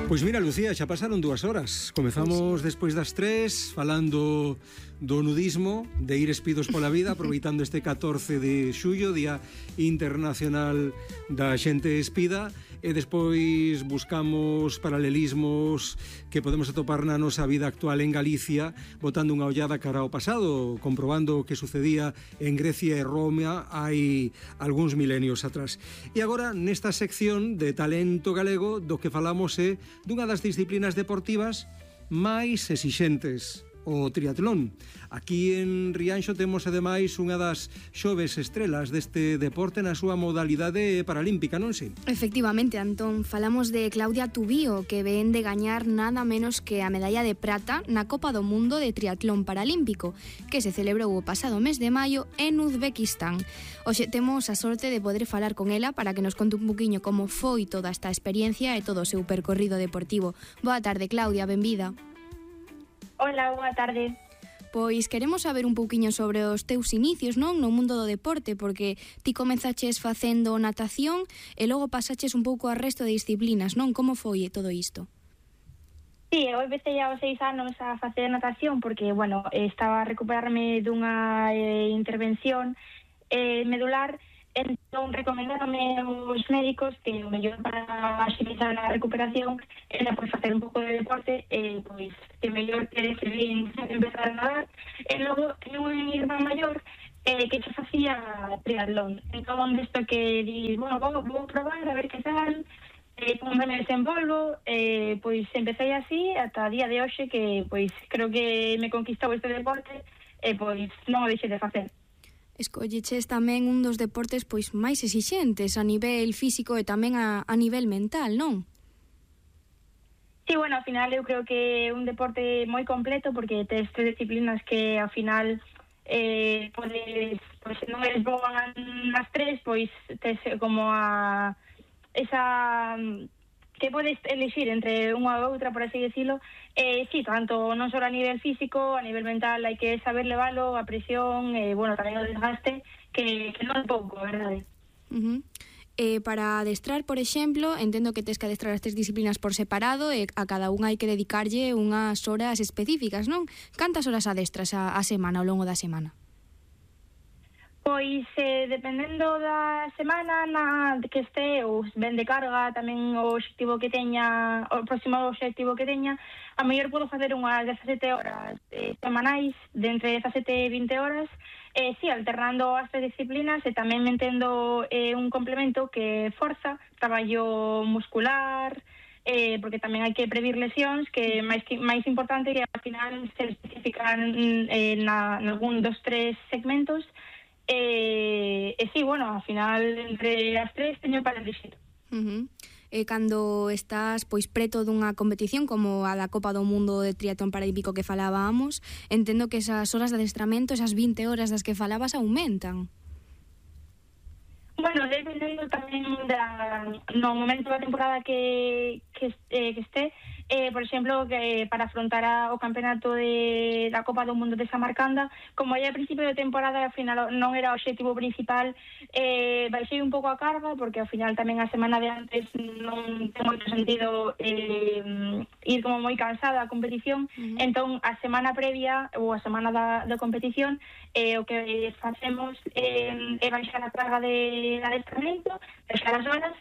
Pois mira, Lucía, xa pasaron 2 horas. Comezamos despois das 3 falando do nudismo, de ir espidos pola vida, aproveitando este 14 de xullo, Día Internacional da Xente Espida, e despois buscamos paralelismos que podemos atopar na nosa vida actual en Galicia, botando unha ollada cara ao pasado, comprobando o que sucedía en Grecia e Roma hai algúns milenios atrás. E agora, nesta sección de talento galego, do que falamos é dunha das disciplinas deportivas máis exixentes, o triatlón. Aquí en Rianxo temos ademais unha das xoves estrelas deste deporte na súa modalidade paralímpica, non sei? Efectivamente, Antón, falamos de Claudia Tubío, que ven de gañar nada menos que a medalla de prata na Copa do Mundo de Triatlón Paralímpico, que se celebrou o pasado mes de maio en Uzbekistán. Hoxe temos a sorte de poder falar con ela para que nos conte un poquinho como foi toda esta experiencia e todo o seu percorrido deportivo. Boa tarde, Claudia, benvida. Hola, boa tarde. Pois queremos saber un pouquiño sobre os teus inicios, non, no mundo do deporte, porque ti comezaches facendo natación e logo pasaches un pouco ao resto de disciplinas, non? Como foi todo isto? Sí, eu empecé aos 6 anos a facer natación porque, bueno, estaba a recuperarme dunha intervención medular. Entón, recomendáronme os médicos que o mellor para axilizar a recuperación era pois facer un pouco de deporte e pois que mellor que decidín empezar a nadar. E logo tenho un irmán maior que xa facía triatlón. Entón, desto que di, bueno, vou probar a ver que tal, como me desenvolvo, pois empecé así ata a día de hoxe que pois creo que me conquistou este deporte e pois non o deixei de facer. Escolleches tamén un dos deportes pois máis exixentes a nivel físico e tamén a nivel mental, non? Sí, bueno, ao final eu creo que é un deporte moi completo porque tes 3 disciplinas que ao final podes, pois non eres boa nas 3, pois tes como a esa que podes elegir entre unha ou outra, por así decirlo. Sí, tanto non só a nivel físico, a nivel mental hai que saber levalo, a presión, bueno, tamén o desgaste, que non é pouco, verdade? Para adestrar, por exemplo, entendo que tes que adestrar as 3 disciplinas por separado e a cada unha hai que dedicarlle unhas horas específicas, non? Cantas horas adestras a semana, ao longo da semana? Pois, dependendo da semana na que este, ou ben de carga, tamén o obxectivo que teña, o próximo obxectivo que teña, a mellor podo facer unhas 17 horas semanais, de entre 17 e 20 horas, sí, alternando as 3 disciplinas e tamén metendo un complemento que forza, traballo muscular, porque tamén hai que previr lesións, que máis importante que ao final se especifican en algún dos 3 segmentos. Sí, bueno, ao final entre as 3 teño para elegir. Cando estás pois preto dunha competición como a da Copa do Mundo de Triatlón Paralímpico que falábamos, entendo que esas horas de adestramento, esas 20 horas das que falabas, aumentan. Bueno, dependendo tamén no momento da temporada que este, por exemplo, que para afrontar o campeonato da Copa do Mundo de Samarcanda, como aí a principio de temporada ao final non era o obxectivo principal, baixei un pouco a carga porque ao final tamén a semana de antes non ten moito sentido ir como moi cansada a competición. Entón a semana previa ou a semana da competición o que facemos é baixar a carga de adestramento, baixar as horas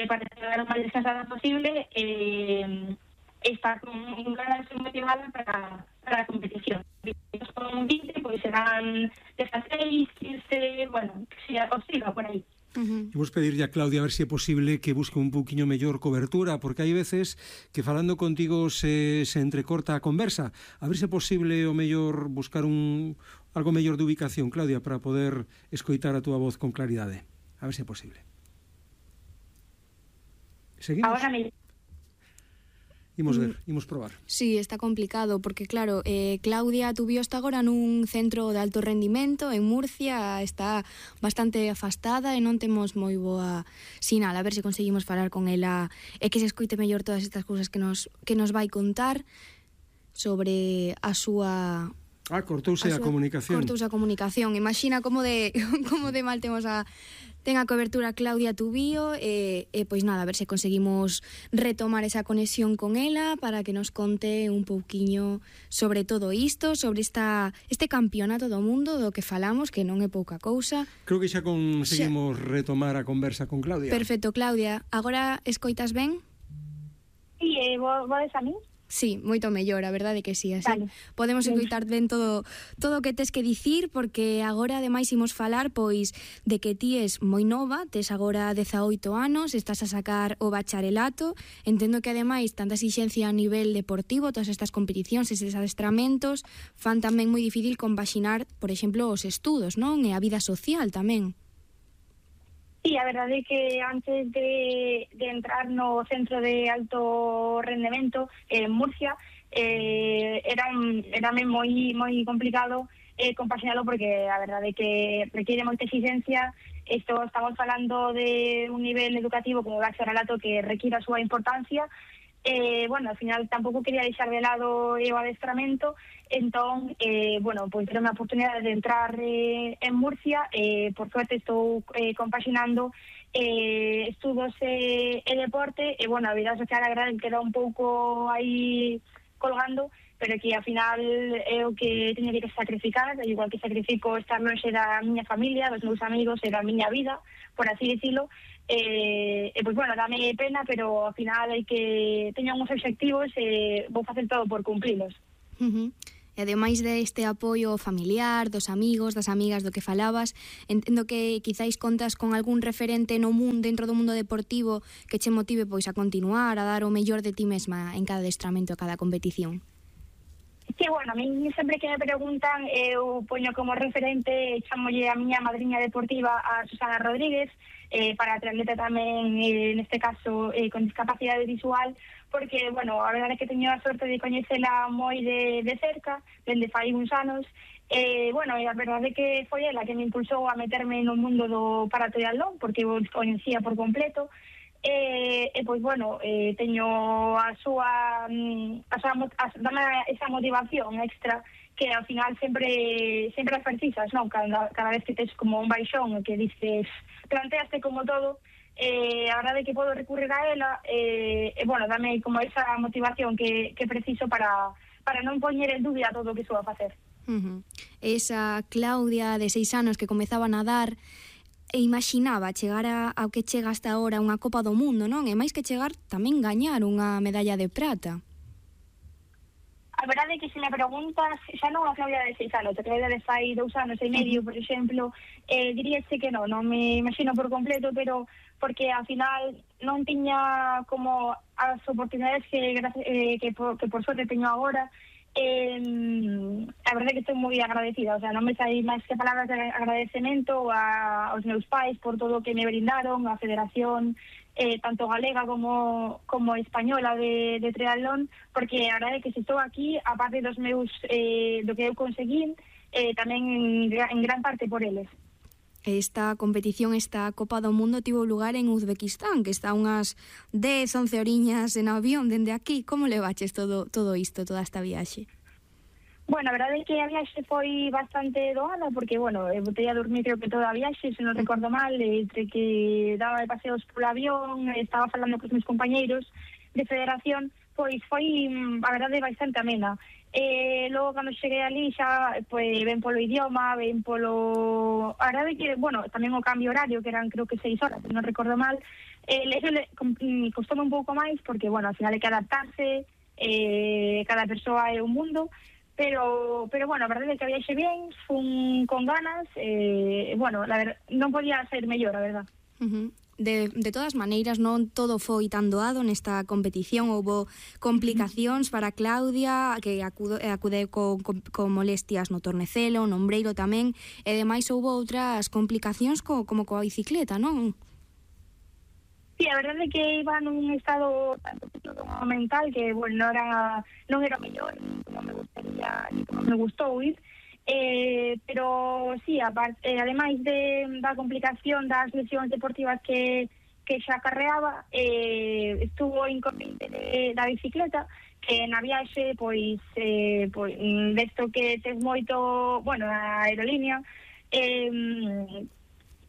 para chegar o máis descansada posible e estar con ganas motivada para a competición. Con 20, pois serán 16, 15, bueno, que sea posible por aí. Vamos pedirlle a Claudia a ver se é posible que busque un pouquiño mellor cobertura, porque hai veces que falando contigo se entrecorta a conversa. A ver se é posible o mellor buscar algo mellor de ubicación, Claudia, para poder escoitar a túa voz con claridade. A ver se é posible. Seguimos? Ahora me... Imos ver, imos probar. Sí, está complicado, porque claro, Claudia Tubío está agora nun centro de alto rendimento en Murcia, está bastante afastada e non temos moi boa sinal. A ver se conseguimos falar con ela e que se escoite mellor todas estas cousas que nos vai contar sobre a súa... Cortouse a comunicación. Cortouse a comunicación. Imagina como de mal temos a Ten a cobertura Claudia Tubío e pois nada, a ver se conseguimos retomar esa conexión con ela para que nos conte un pouquiño sobre todo isto, sobre este campeonato do mundo do que falamos, que non é pouca cousa. Creo que xa conseguimos retomar a conversa con Claudia. Perfecto, Claudia. Agora escoitas ben? Sí, vos a mí? Sí, moito mellor, a verdade que sí, así Vale. podemos escoitar ben todo o que tes que dicir, porque agora ademais imos falar pois de que ti és moi nova, tes agora 18 anos, estás a sacar o bacharelato, entendo que ademais tanta exixencia a nivel deportivo, todas estas competicións, estes adestramentos, fan tamén moi difícil compaxinar, por exemplo, os estudos, non? E a vida social tamén. Sí, a verdade é que antes de entrar no centro de alto rendemento en Murcia era moi complicado compaxinalo, porque a verdade é que requiere moita exigencia. Estamos falando de un nivel educativo como o bacharelato que requiere a súa importancia. Bueno, ao final tampouco quería deixar de lado o adestramento, entón, bueno, pois era unha oportunidade de entrar en Murcia. Por suerte estou compaxinando estudos e deporte, e bueno, a vida social agora queda un pouco aí colgando, pero que ao final é o que teño que sacrificar, igual que sacrifico estar lonxe da miña familia, dos meus amigos e da miña vida, por así dicilo. Pois bueno, dame pena, pero ao final hai que teño uns obxectivos e vou facer todo por cumprilos. E ademais deste apoio familiar, dos amigos, das amigas do que falabas, entendo que quizáis contas con algún referente no mundo, dentro do mundo deportivo, que che motive pois a continuar, a dar o mellor de ti mesma en cada adestramento, a cada competición. Sí, bueno, a mí sempre que me preguntan, eu poño como referente, chamolle a miña madriña deportiva, a Susana Rodríguez, para triatleta tamén, neste caso, con discapacidade visual, porque, bueno, a verdade é que teño a sorte de coñecela moi de cerca, dende fai uns anos. Bueno, a verdade é que foi ela que me impulsou a meterme no mundo do paratriatlón, porque eu coñecía por completo. Pois, bueno, teño dame esa motivación extra que ao final sempre as precisas, non? Cada vez que tes como un baixón que dices, planteaste como todo, a verdade é que podo recurrir a ela, bueno, dame como esa motivación que preciso para non poñer en dúbida todo o que sou a facer. Esa Claudia de 6 anos que comezaba a nadar e imaginaba chegar ao que chega hasta ahora, unha Copa do Mundo, non? E máis que chegar, tamén gañar unha medalla de prata. A verdade é que se me preguntas, xa non a Claudia de 6 anos, a Claudia de fai 2 anos e medio, por exemplo, diríase que non me imagino por completo, pero porque ao final non tiña como as oportunidades que por sorte teño agora. A verdade é que estou moi agradecida, o sea, non me sai máis que palabras de agradecemento aos meus pais por todo o que me brindaron, a Federación tanto galega como española de triatlón, porque a verdade é que se estou aquí, aparte dos meus do que eu conseguín, tamén en gran parte por eles. Esta competición, esta Copa do Mundo tivo lugar en Uzbequistán, que está unhas 10-11 horiñas en avión dende aquí. Como levaches todo isto, toda esta viaxe? Bueno, a verdade é que a viaxe foi bastante doada, porque, bueno, botei a dormir creo que toda a viaxe, se non recordo mal, entre que daba de paseos polo avión, estaba falando cos meus compañeiros de federación, pois foi, a verdade, bastante amena. Logo, cando cheguei ali, xa ven polo idioma, ven polo... A verdade que, bueno, tamén o cambio horario, que eran creo que 6 horas, non recordo mal, costoume un pouco máis, porque, bueno, ao final hai que adaptarse, cada persoa é un mundo, pero bueno, a verdade é que a viaxe bien, fun con ganas, bueno, non podía ser mellor, a verdade. De todas maneiras, non todo foi tan doado nesta competición. Houbo complicacións para Claudia, que acude con molestias no tornecelo, no ombreiro tamén, e demais houbo outras complicacións como coa bicicleta, non? Sí, a verdade é que iba nun estado tanto mental que, bueno, non era o mellor, como me gustaría, como me gustou ir. Pero sí, ademais da complicación das lesións deportivas que xa acarreaba, estuvo inconveniente da bicicleta, que na viaxe, pois desto que tes moito, bueno, a aerolínea,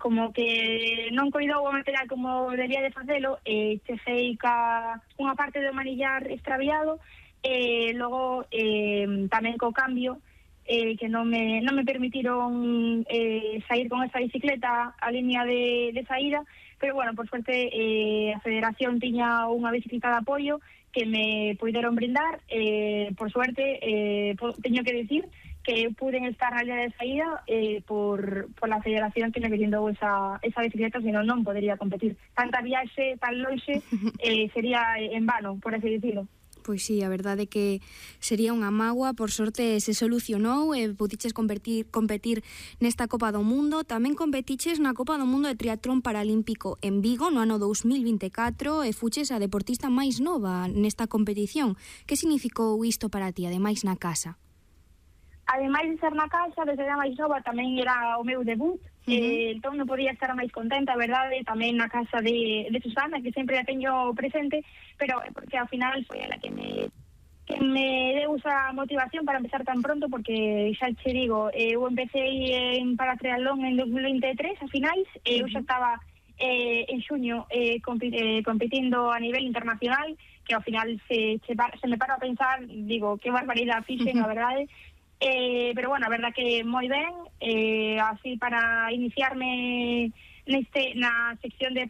como que non coidou o material como debía de facelo, chexei unha parte do manillar extraviado, logo tamén co cambio, que non me permitiron sair con esa bicicleta a línea de saída, pero bueno, por suerte a Federación tiña unha bicicleta de apoio que me puideron brindar, por suerte, teño que decir que puden estar na línea de saída por la Federación que me brindou esa bicicleta, senón non podería competir. Tanta viaxe tan lonxe sería en vano, por así dicilo. Pois sí, a verdade é que sería unha mágoa. Por sorte se solucionou e pudiches competir nesta Copa do Mundo. Tamén competiches na Copa do Mundo de Triatlón Paralímpico en Vigo no ano 2024 e fuches a deportista máis nova nesta competición. Que significou isto para ti, ademais na casa? Ademais de ser na casa, desde a máis nova tamén era o meu debut, entón non podía estar máis contenta, a verdade, tamén na casa de Susana, que sempre a teño presente, pero porque ao final foi ela que me deu esa motivación para empezar tan pronto, porque xa che digo, eu empecé en paratriatlón en 2023, a finais, eu xa estaba en xuño competindo a nivel internacional, que ao final se me paro a pensar, digo, que barbaridade fixen, a verdade. Pero bueno, a verdad que moi ben, así para iniciarme na sección de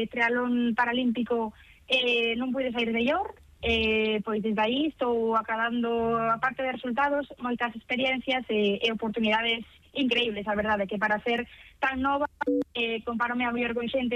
triatlón paralímpico non pude sair de Llor, pois desde aí estou acabando, aparte de resultados, moitas experiencias e oportunidades increíbles, a verdade, que para ser tan nova, comparome a mellor con xente